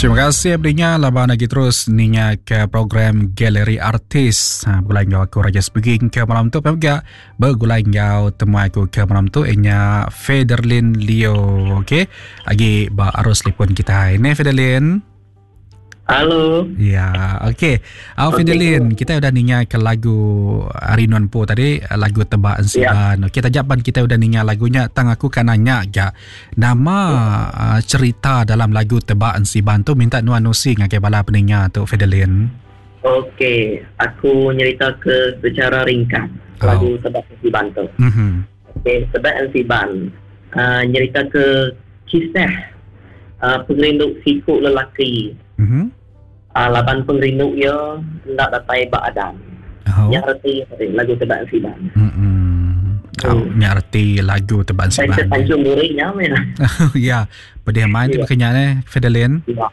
Terima kasih beringa laban lagi terus ninga ke program Galeri Artis. Ha, begulai enggau aku Raja Speaking ke malam tu pega begulai enggau temuai aku ke malam tu inya Federlin Leo. Okey. Agi ba arus telefon kita. Ini Federlin. Halo. Ya, okey. Au okay. Fidelin, kita udah ninga ke lagu Ari Nuan Po tadi, lagu Tebak Ensiban. Ya. Okey, tajak pan kita udah ninga lagunya, tang aku kan nanya ga nama uh, cerita dalam lagu Tebak Ensiban tu minta nuan nusi ngagai bala peninga tu Fidelin. Okey, aku nyerita ke secara ringkas oh. lagu Tebak Ensiban tu. Mhm. Okey, Tebak Ensiban uh, nyerita ke kisah uh, pengerindu siku lelaki. Mm-hmm. Uh, laban pengerindu ia enda datai ba Adam. Oh. Nya reti lagu Tebak Ensiban. Mm-hmm. Oh, nya reti lagu Tebak Ensiban. Saya Tanjung Duri nya meh. Ya, pedih main tu Ya. bekenya eh Fedelin. Ya.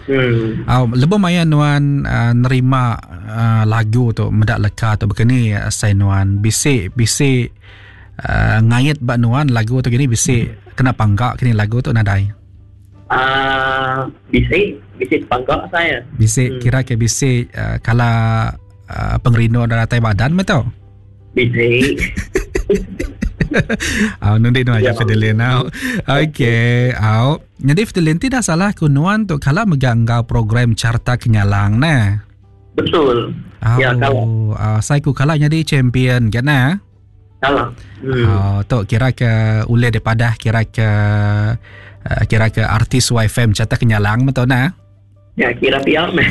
Hmm. Oh, lebuh maya nuan uh, nerima uh, lagu tu meda leka tu bekeni asai nuan bisi bisi uh, ngait ba nuan lagu tu gini bisi kena pangka kini lagu tu nadai. Uh, bisi bisi pangka saya. Bisi hmm. kira ke bisi uh, kala uh, pengerindu datai badan betul. Bisi. Au nundi nuan aja Fidelin au. Okey, au. Jadi Fidelin ti dah salah ku nuan tu kala mega enggau program Carta Kenyalang neh. Betul. Au, Ya, kala. Uh, sai ku kala nyadi champion kan neh. Kala. Hmm. Au, tu kira ke ulih dipadah kira ke uh, kira ke artis YFM Carta Kenyalang betul neh. Ya kira pia meh.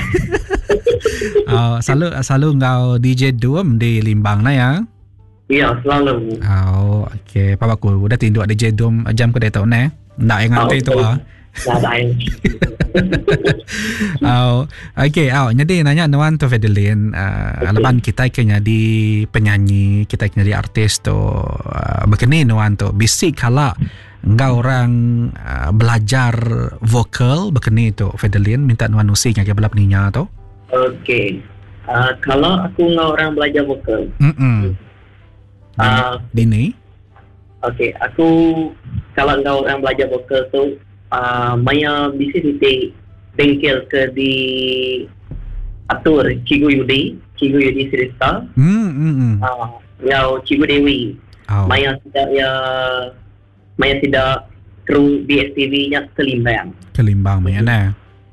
Oh, selalu selalu enggau DJ Dum di Limbang na ya. Ya, selalu. Oh, okey. Papa aku udah tinduk DJ Dum jam ke diatu ne. Ndak yang nganti tu ah. Nadai. Oh, okey. Oh, jadi nanya nuan tu Fedelin, uh, okay. laban kita ke nyadi penyanyi, kita ke nyadi artis tu uh, bekeni nuan tu bisi kala Enggau orang belajar vokal baka ni tu Fedelin minta nuan nusi ngagai bala peninga tu. Okey. Uh, kalau aku enggau orang belajar vokal. Mm. Dini. Okey, aku kalau enggau orang belajar vokal tu uh, maya bisi siti bengkel ke di atur Cikgu Yudi, Cikgu Yudi Sirista. Mm. Uh, enggau Cikgu Dewi. Oh. Maya sida iya maya sida kru BSTV nya ke Limbang. Ke Limbang maya neh.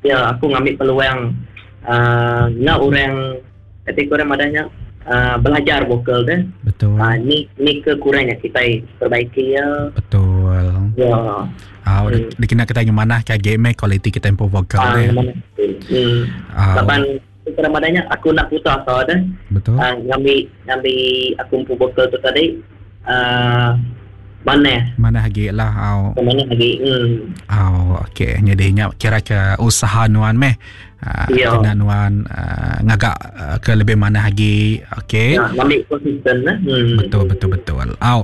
Ya, aku ngambi peluang uhh enggau orang kati ku orang madah nya uhh belajar vokal deh. Betul. Uhh ni ni ke kurang nya kitai perbaiki iya. Betul. Ya. Au uh, dikena kitai ngemanah ke agi meh kualiti kitai empu vokal deh. Uh, ngemanah. Hmm. Laban Kurang madah nya aku enda putus asa deh. Betul. Uh, ngambi ngambi aku empu vokal tu tadi uh, manah. Manah agi lah au. Manah agi. Hmm. Au okey jadi nya kira ke usaha nuan meh. Uh, ya. Kena nuan uh, ngaga uh, ke lebih manah agi. Okey. Ya, ngambi konsisten lah. Hmm. Betul betul betul. Au.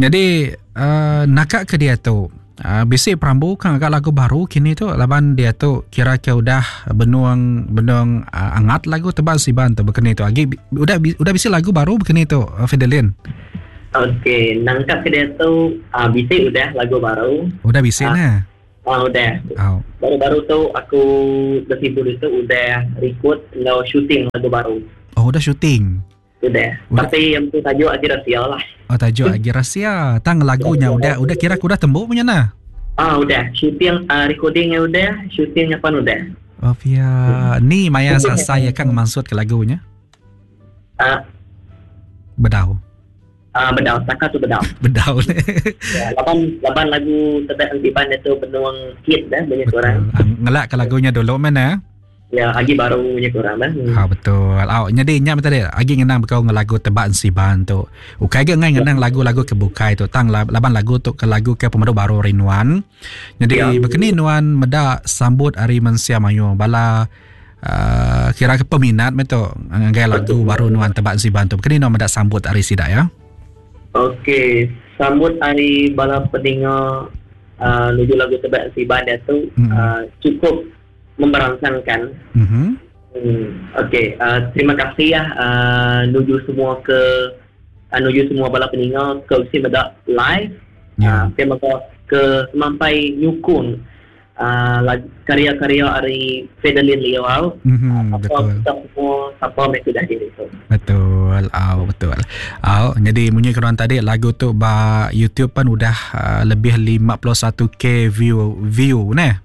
Jadi uh, naka ke dia tu Bisi perambu ka ngaga lagu baru kini tu laban diatu kira ke udah benung benung angat lagu tebal siban tu bekeni tu agi udah udah bisi lagu baru bekeni tu Fidelin. Okey nangkap ke diatu uh, bisi udah lagu baru. Udah bisi uh, nah. Uh, udah. Oh. Baru-baru tu aku besibu ditu udah record enggau shooting lagu baru. Oh udah shooting. Udah. Tapi yang tu tajuk agi rahsia lah. Oh tajuk agi rahsia. Tang lagunya udah udah kira aku udah tembu punya nah. Ah udah. Shooting uh, recordingnya udah, shootingnya pun udah. Oh pia. Ni maya selesai ya kan maksud ke lagunya? Ah. Bedau. Ah bedau, saka tu bedau. Bedau. ya, laban laban lagu tebak antiban itu benuang hit dah banyak orang. Ngelak ke lagunya dulu mana? Ya, agi baru nya kurang bah. Hmm. Ha betul. Au nyadi nya tadi agi ngenang bekau ngan lagu Tebak Ensiban tu. Ukai ga ngai ngenang lagu-lagu ke bukai tu tang laban lagu tu ke lagu ke pemadu baru ari nuan. Nyadi ya. bekeni nuan meda sambut ari mensia mayuh bala uh, kira ke peminat meh tu ngagai lagu baru nuan Tebak Ensiban tu. Bekeni nuan meda sambut ari sida ya. Okey, sambut ari bala peninga uh, nuju lagu Tebak Ensiban dia tu hmm. uh, cukup memberangsangkan. Mm-hmm. Hmm, okey, uh, terima kasih ya uh, nuju semua ke uh, nuju semua bala peninga ke usi meda live. Yeah. Uh, terima kasih ke semampai nyukung. Karya-karya ari Fedelin Leo au. Mm-hmm, betul. Kita semua sapa meh tudah diri tu. Betul. Au betul. Au jadi munyi keruan tadi lagu tu ba YouTube pan udah uh, lebih 51k view view neh.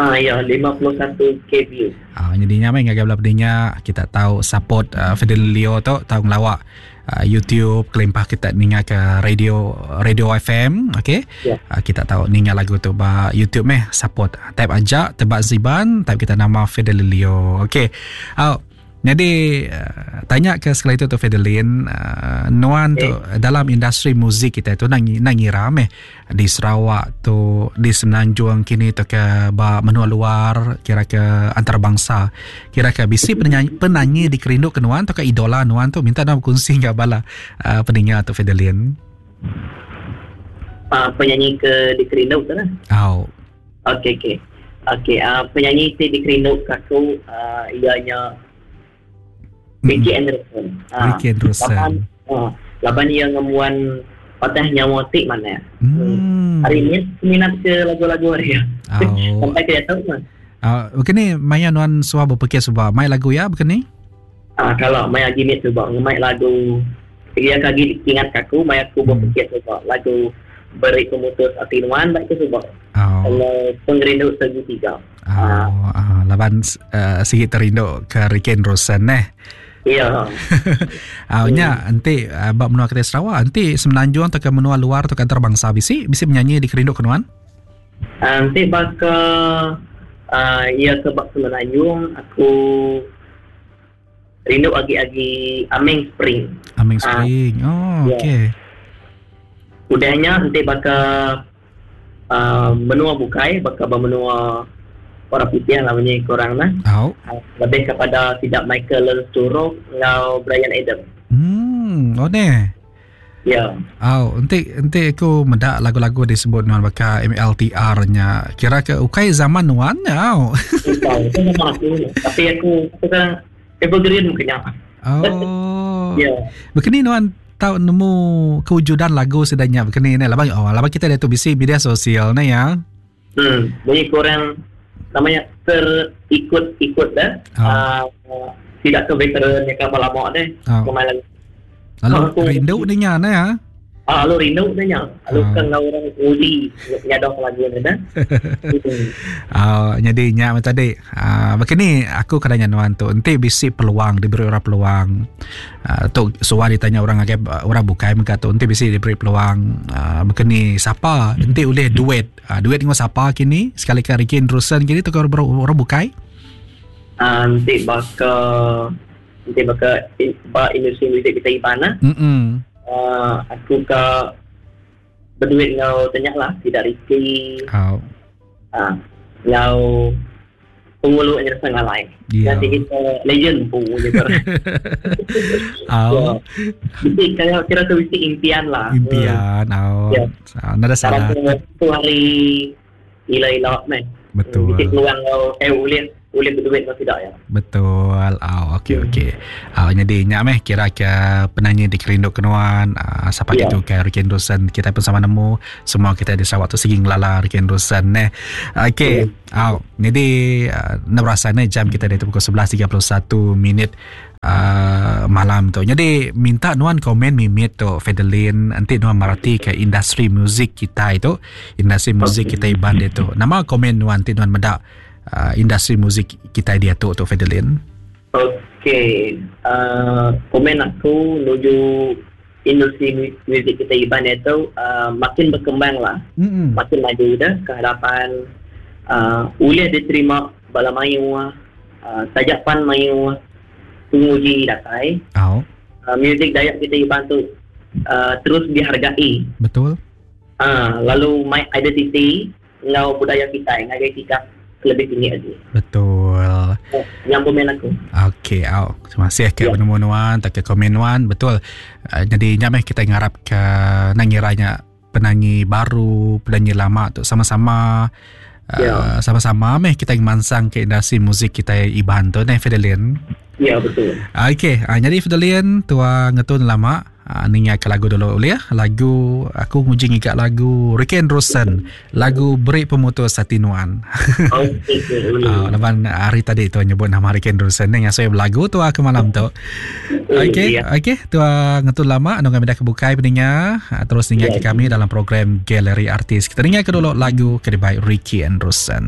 Ah ya 51k view. Ah jadi nya meh ngagai bala pendinya kita tahu support uh, Fedelin Leo tu tau ngelawak uh, YouTube kelimpah kita ninga ke radio radio FM okey yeah. uh, kita tahu ninga lagu tu ba YouTube meh support type aja tebak ziban type kita nama Fidelio okey uh, jadi uh, tanya ke sekali tu tu Fidelin uh, nuan okay. tu dalam industri muzik kita tu nang nang ngira meh di Sarawak tu di Semenanjung kini tu ke ba menua luar kira ke antarabangsa kira ke bisi penyanyi, penyanyi dikerindu ke nuan tu ke idola nuan tu minta nuan berkongsi enggau bala uh, peninga tu Fedelin uh, penyanyi ke dikerindu tu lah oh. Okey okey. Okey uh, penyanyi ti dikerindu ke aku uh, ianya Ricky Anderson. Ha. Ricky Anderson. Laban, ha, laban ia ngembuan patah nyawa ti mana. Hmm. Hari ni minat ke lagu-lagu hari. Oh. Sampai ke tahu mah. Uh, bukan ni maya nuan suah berpikir sebab mai lagu ya bukan ni? Ah uh, kalau maya gini sebab ngemai lagu ia kagi ingat aku maya aku berpikir sebab lagu beri pemutus ati nuan baik ke sebab. Oh. Kalau pengerindu segitiga. Oh, ah. laban uh, sigi terindu ke Ricky Anderson neh. Ya. Ah, nya enti uh, ba menua kita Sarawak, enti Semenanjung atau ke menua luar atau ke antarabangsa bisi bisi menyanyi dikerindu ke nuan? Enti baka uh, iya ke ba Semenanjung aku rindu agi-agi Aming Spring. Aming Spring. Uh, oh, ya. okey. Udahnya enti baka uh, menua bukai baka ba menua orang putih lah munyi korang nah. Oh. Lebih kepada tidak Michael Learns to Rock enggau Bryan Adams. Hmm, oh neh. Ya. Oh, enti enti aku meda lagu-lagu disebut nuan baka MLTR nya. Kira ke ukai zaman nuan nya. Oh. Ukai, itu zaman aku. Tapi aku aku kan evergreen mungkin nya. Oh. Ya. Bekeni nuan tau nemu kewujudan lagu sida nya bekeni ne laban oh laban kita diatu bisi media sosial ne ya. Hmm, bunyi kurang namanya terikut-ikut dah. Oh. Uh, tidak ke veteran yang kapal lama deh. Oh. Kemarin. Lalu Aku, rindu ninga ne ya. Ah, lalu rindu nya. Lalu kan ngau orang nguji nyadong lagu ni dah. Ah, jadi nya macam tadi. Ah, begini aku kadang nuan tu enti bisi peluang diberi orang peluang. Ah, tu suah ditanya orang ngagai orang bukai mega tu enti bisi diberi peluang ah, begini sapa enti ulih duet. Ah, duet dengan sapa kini sekali ke Ricky Anderson kini tu ke orang, orang bukai. Ah, enti baka enti baka ba industri muzik kita Iban lah. Mm-mm. Aku ke berduit ngau tanya lah tidak Ricky. Oh. Ngau pengulu Anderson Ngalai. Yeah. Nanti kita legend pun gitu. Oh. Jadi kalau kira tu mesti impian lah. Impian. Oh. Yeah. Nada salah. Tu hari ila-ila meh. Betul. Mesti peluang kau boleh boleh berduit atau tidak ya. Betul. Oh, okey okey. Oh, jadi nya meh kira ke penyanyi dikerindu kenuan, siapa Ya. gitu ke Ricky Anderson kita pun sama nemu semua kita di Sarawak tu sigi ngelala Ricky Anderson neh. Okey. Oh, jadi nak berasa ni jam kita dari pukul 11.31 minit malam tu. Jadi minta nuan komen mimit tu Fedelin nanti nuan merati ke industri muzik kita itu, industri muzik kita Iban dia tu. Nama komen nuan nanti nuan medak industri muzik kita dia tu tu Fedelin. Okey, komen aku menuju industri muzik kita Iban itu makin berkembang lah. Mm-mm. Makin maju dah ke hadapan, boleh diterima bala mayu, sajak pan mayu penguji datai. Oh. Muzik Dayak kita Iban tu terus dihargai. Betul. Lalu my identity ngau budaya kita ngagai kita lebih tinggi lagi. Betul. Oh, yang komen aku. Okey, au. Terima kasih ke Ya. penemu nuan, tak ke komen nuan, betul. Jadi nyameh kita ngarap ke nangiranya penyanyi baru, penyanyi lama tu sama-sama Ya. sama-sama meh kita mansang ke industri muzik kita Iban tu neh Fedelin. Ya betul. Okey, uh, nyadi Fidelian tua ngetun lama uh, ninga ke lagu dulu boleh ya? Lagu aku nguji ngiga lagu Ricky Andrewson, lagu Beri Pemutus Hati Nuan. Okey, boleh. Uh, laban hari tadi tu nyebut nama Ricky Andrewson ni ngasuh belagu tua ke malam tu. Okey, Ya. okey, tua ngetun lama anu kami dah kebukai peninga, uh, terus ninga ke Ya. kami dalam program Galeri Artis. Kita ninga ke dulu lagu ke dibai Ricky Andrewson.